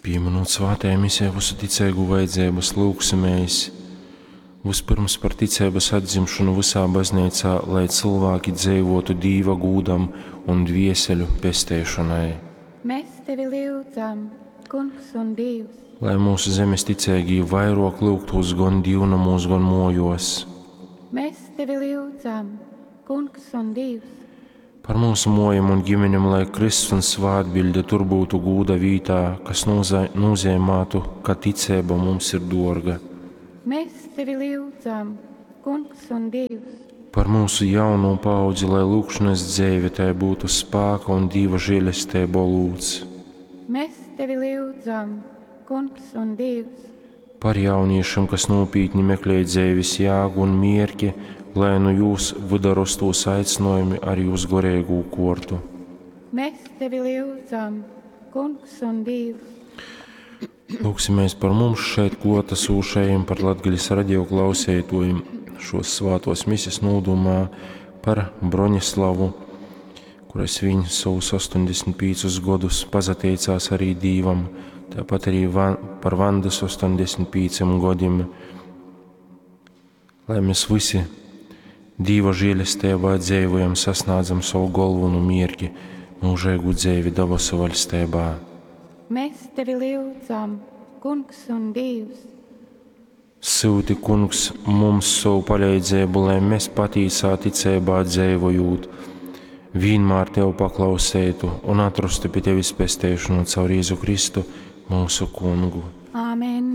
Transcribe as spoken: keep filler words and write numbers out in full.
Pīminūt svātajā misē vysu ticeigu vajadzeibas, lyugsimēs vyspyrms par ticeibas atdzimšonu vysā bazneicā, lai cylvāki dzeivotu Dīva gūdam un dvieseļu pesteišonai. Mēs tevi lyudzam, Kungs un Dievs. Lai mūsu zemes ticeigī vairok lyugtūs gon dīvnomūs, gon mojos. Mēs tevi lyudzam, Kungs un Dievs. Par mūsu mojom un ģimenem, lai krysts un svātbiļde tur būtu gūda vītā, kas nūzeimātu, ka ticeiba mums ir dorga. Mēs tevi lyudzam, Kungs un Dievs. Par mūsu jauno paudzi, lai lūgšanas dzeive tai būtu spāka un Dīva žēlesteiba olūts. Mēs tevi lyudzam, Kungs un Dievs. Par jauniešiem, kas nopietni meklē dzeives jēgu un mierki, lai nu jūs vyda rostūs aicinājumi arī uz goreigū kortu. Mēs tevi lyudzam, Kungs un Dievs. Lūgsimies par mums šeit klātesošajiem, par Latgales radio klausētojiem šos svātos mises nūdomā, par Broņislavu, kuras viņ savus astoņdesmit piecus godus pazateicās arī Dīvam, tāpat arī van, par Vandas astoņdesmit pieciem gadiem, lai mēs visi Dīva žēlestībā dzīvojam, sasniedzam savu galveno mierki, mūžīgu dzīvi debesu valstībā. Mēs tevi lyudzam, Kungs un Dievs. Sūti, Kungs, mums savu palīdzību, lai mēs patīsā ticībā dzīvojot, vienmēr Tev paklausētu un atrastu pie Tevis pesteišanu caur Jēzu Kristu, mūsu Kungu. Āmen.